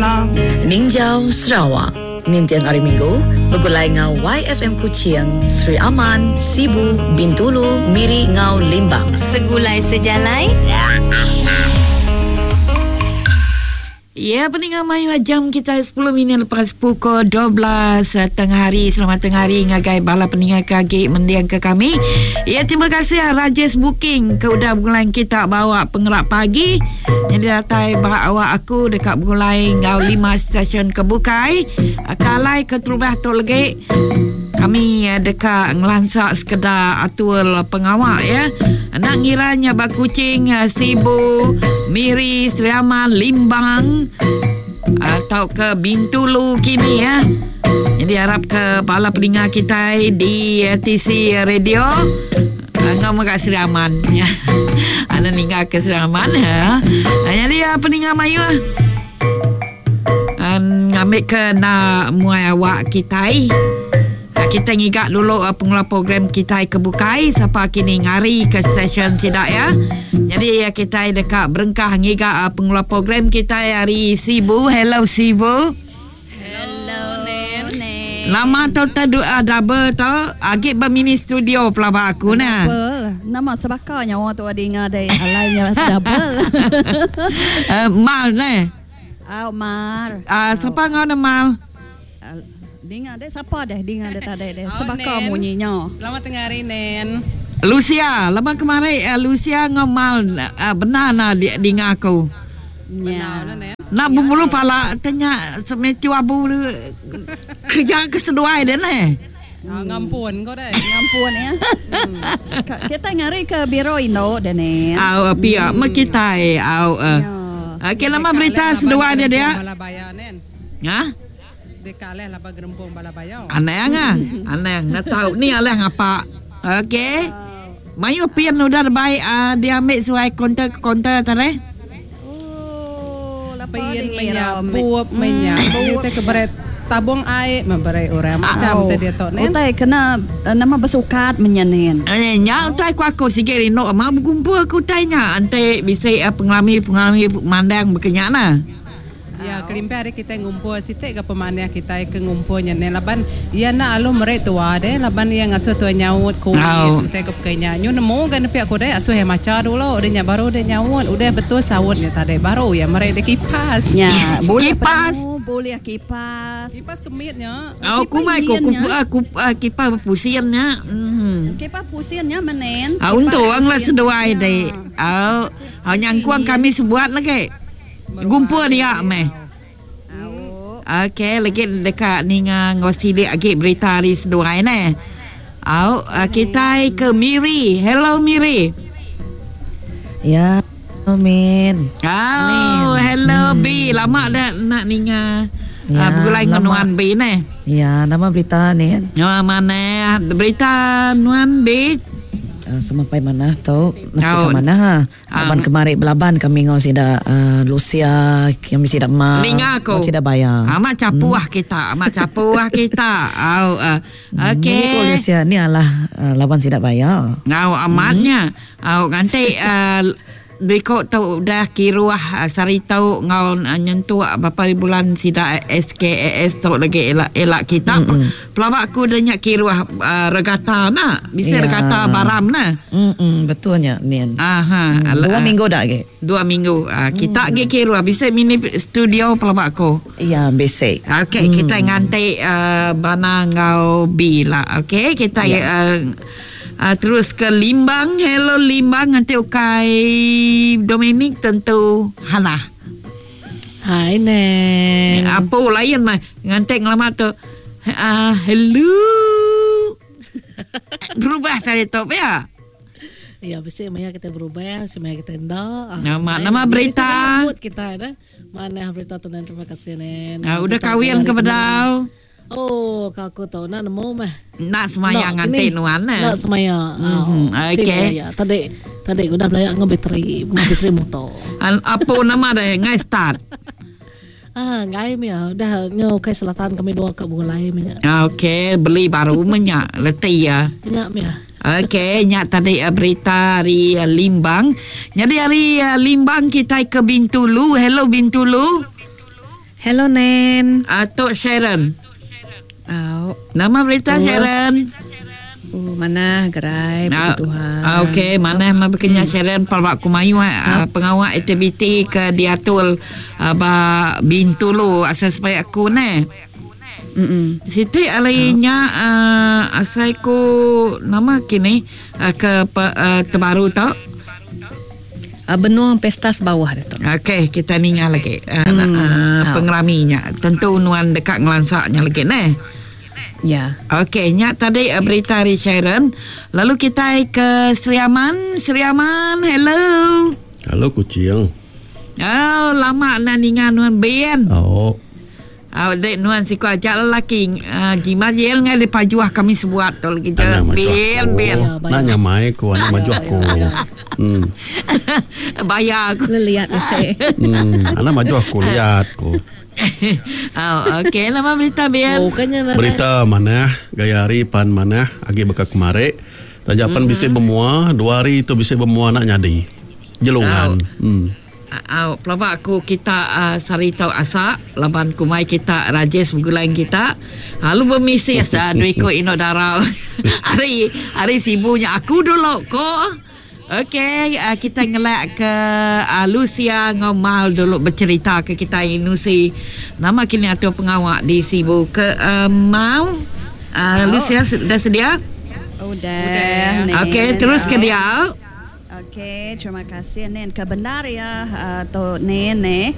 bala. Ninjau Sarawak ninting Hari Minggu begulai enggau YFM Kuching, Sri Aman, Sibu, Bintulu, Miri enggau Limbang. Segulai sejalai. Ya, peninga mayuh jam kita 10 minit lepas pukul 12 eh, tengah hari. Selamat tengah hari ngagai bala peninga ke agi mending ke kami. Ya, terima kasih ah, Rajesh Booking ke udah begulai kita bawa pengerak pagi. Jadi datai ba awak aku dekat begulai enggau lima stesen ke bukai. Eh, kalai ke terubah tu lagi Kami deka ngelansa sekeda atur pengawa ya. Enda ngira nya ba Kuching, Sibu, Miri, Sri Aman, Limbang tauka Bintulu kini ya. Jadi arap ke bala peninga kitai di TC Radio enggau mega Sri Aman. Anda ninggal ke Sri Aman ya. Jadi peninga mayuh Ngambika enda muai awak kitai, kitai ngiga dulu pengeluar program kitai ke bukai sapa kini ngarika stesen sida iya. Nyadi kitai deka berengkah ngiga pengeluar program kitai ari Sibu. Hello Sibu. Hello Nen. Lama tu te double tu agi ba mini studio pelaba aku nah. Double. Nama sebaka nyawa tu dinga dei alai nya double. Mal neh. Au mar. Ah sapa enggau ne mal? Dinga deh sapa deh dinga deh tadi deh sebaka munyi nya. Selamat tengah hari Nen. Lucia, lama kemari Lucia enggau mal bendar na dinga aku. Nya. Enda bebulu pala te nya semechu abu kerja ke seduai deh neh. Ngampun ko deh. Ngampun ya. Kitai ngari ke biro indu deh ni. Au pia meh kitai au. Okey lama berita seduai dia dia. Bala baya nen. Ha? Deka alih laba gerempung bala baya. Anang ah. Anang enda tau ni alih ngapa. Okey. Mayuh pin udah dibai diambi suai kaunter ke kaunter tadi. Oh, lapa Pin di menya, ngira. bup menya. Ni te ke beri tabung ai meh beri orang macam te diatu nen. Utai kena nama besukat menya nen. Eh, nya utai ku aku sigi rindu amat begumpul ke utai nya enti bisi pengerami-pengerami mandang baka nya nah. Ya, kelimpah ari kitai ngumpul siti ga pemanah kitai ke ngumpul nya neh laban iya enda alu meri tua deh laban iya ngasuh tua nyaut kuis utai ke pekei nya. Nyu nemu ga nepi aku deh asuh iya macha dulu udah nya baru deh nyaut udah betul saut nya tadi baru iya meri deh kipas. Nya, bulih Kipas. penemu, bulih kipas. Kipas ke mit nya. Oh, Kipas kumbai ku ingin ku nya. ku kipas bepusin nya. Mhm. Kipas pusin nya menen. Ah, Kipas untung lah pusin seduai nya. dek. Au, au nyangkung kami sebuat lagi. Gumpul dia meh. Ok legi deka ninga enggau silik agi berita ari seduai neh. Au kitai ke Miri. Hello Miri. Ya min. Au hello B lama dah enda ninga Ya, begulai enggau lama. nuan B neh. Ya nama berita nin. Oh manah berita nuan B. Semampai manah tu mesti Au. ka manah ha. Laban kemari belaban kami enggau sida Lucia kami sida ma Ninga aku. enggau sida baya. Amat chapuh kita, amat chapuh kita. Au okey. Munyi ko Lucia ni alah laban sida baya. Au amat nya. Au nganti biko tu udah kiruh sehari tu enggau nyentuk berapa hari bulan sida SKAS tu lagi ila ila kita. Pelaba aku udah nya kiruh regata enda. Bisi Ya. regata baram ne. Mm betul nya Nin. Aha. Dua minggu dah agi. Dua minggu. Kita agi kiruh bisi mini studio pelaba aku. Ya bisi. Okey kita nganti Bana enggau B la. Okey kita ya. Terus ke Limbang. Hello Limbang nganti ukai Dominic tentu Hannah. Hai Neng. Apu lain mah nganti ngelama tu. Uh, hello. Berubah sehari tu ya. Ya bisi maya kita berubah, bisi maya kita enda. Nama nama berita. Kita dah. Mana berita tu Nen terima kasih Nen. Uh, udah kahwin ke bedau? Oh, ka aku tu enda nemu meh. Enda semaya nganti nuan neh. Enda semaya. Mm-hmm. Okey. Ya, tadi tadi udah belaya enggau bateri, bateri motor. Apu nama deh ngai start. Ah, ngai meh ya. Udah ngau kai selatan kami dua ka begulai meh nya. Okey, beli baru meh nya reti ya. Nya meh ya. Okey, nya tadi berita ari Limbang. Nyadi ari Limbang kitai ke Bintulu. Hello Bintulu. Hello Nen. Tok Sharon. Au. Nama berita Sharon? Oh, manah gerai puji Tuhan. Okey, manah mah bekenya Sharon pelaba ku mayuh pengawa aktiviti ke diatur ba Bintulu asai sepai aku neh. Siti ari nya asai ku nama kini ke terbaru tu. Benung pesta sebawah ditu. Okey, kita ninga lagi pengerami nya. Tentu nuan deka ngelansa nya lagi neh. Ya. Okey, nya tadi berita ari Sharon. Lalu kitai ke Sri Aman. Sri Aman, hello. Hello Kuching. Oh, lama enda ninga nuan Ben. Oh. Au dek nuan siku aja lelaki jimat yel ngai di pajuh kami sebuat tu lagi je. Bil bil. Nak nyamai ku anak maju aku. Hmm. Bayar aku. Leliat ese. Hmm, anak maju aku liat ku. Oh, okey nama berita Bil. Oh, kanya berita manah gaya hari pan manah agi baka kemari. Taja pan bisi bemua, dua hari tu bisi bemua nak nyadi. Jelungan. Hmm. Au, pelaba aku kita sehari tu asa laban kumbai kita Rajesh begulai enggau kita. Lalu bemisis dua iku indu dara ari ari Sibu nya aku dulu ko. Okey, kita ngelak ke Lucia enggau Mal dulu becherita ke kitai nusi nama kini atur pengawa di Sibu ke Mal. Lucia dah sedia? Udah. Okey, terus ke dia. Okey, terima kasih Nen. Ke bendar iya tu Nen eh.